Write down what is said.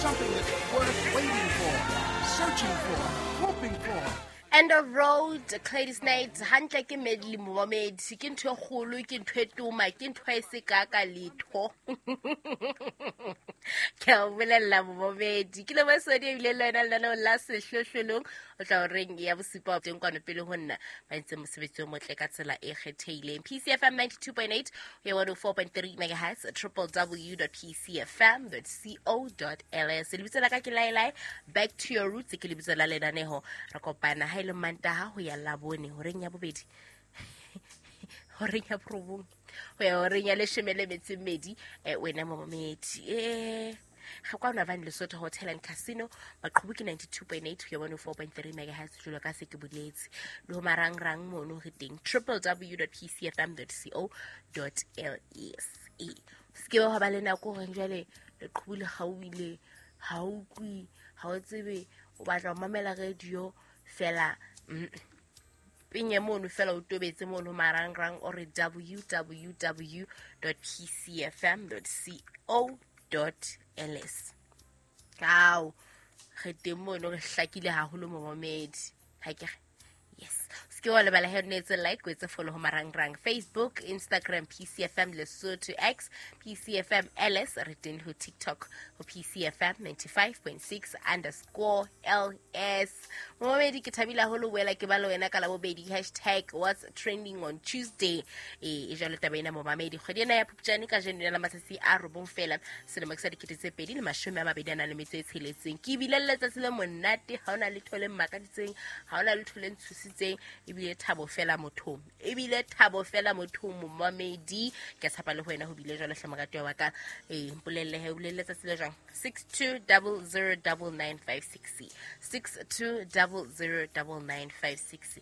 Something that's worth waiting for, searching for, hoping for. End of Road, Gladys Knight. Hantle ke medley, momamedi. Ke ntho e kgolo, ke ntho e toma, ke ntho e se ka ka letho. Ke a o bolella, momamedi, ke le basodi ebile le wena lenaneo la Sehlohlolong o tla horeng ya bosupa teng kwano. Pele ho nna ba entse mosebetsi o motle ka tsela e kgethehileng. PCFM 92.8 ho ya 104.3 megahertz, www.pcfm.co.ls. Lebitso la ka ke Laelae. Back to Your Roots ke lebitso la lenaneho. Re kopana ha e le Mantaha ho ya Labone, horeng ya bobedi, horeng ya borobong ho ya horeng ya leshome le metso e mmedi. Wena momamedi, ga kwano Van Lesotho Hotel and Casino, maqhubu ke 92.8 ho ya 104.3 megahertz, jalo ka se ke boletse le ho marangrang mono re teng, www.pcfm.co.ls. Se ke ba ba le nako goreng jwale leqhubu le kgaohile, ha o utlwe, ha o tsebe o batla ho mamela radio fela. Penye mono fela, o tobetse mono marangrang o re www.pcfm.co.ls. Ao, re teng mono, re hlakile haholo, momamedi. Ha ke re yes, se ke wa lebala he o etse like, o etse follow ho marangrang, Facebook, Instagram, PCFM Lesotho, X, PCFM LS. Re teng ho TikTok ho PCFM 95.6_LS. Momamedi, ke thabile haholo boela ke ba le wena ka Labobedi. #WhatsTrendingOnTuesday. E jalo taba ena, momamedi. Kgwedi ena ya Phupjane ka jeno la matsatsi a 9 fela, selemo ke sa 2026. Ke ebile le letsatsi le monate, ha ona letho le mmakaditseng, ha ona letho le ntshositseng. Ebile thabo fela mothong, ebile thabo fela mothong, momamedi. Ke a tshepa le ho wena ho bile jwalo hle, moratuwa wa ka. Ee, mpolelle he, o bolelle letsatsi le jwang. 62009956, 62009956.